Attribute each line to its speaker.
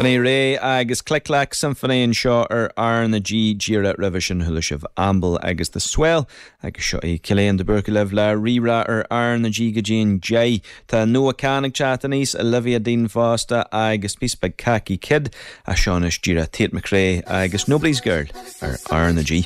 Speaker 1: B'in é Ré agus Click Clack Symphony anseo ar R na G díreach roimhe sin chuala sibh Amble agus The Swell agus seo é Cillian de Búrca libh le Rí-Rá ar R na G go dtí an 10. Tá Noah Kahan ag teacht aníos, Olivia Dean fosta agus píosa beag Khaki Kid ach seo anois díreach Tate McRae agus Nobody's Girl ar R na G.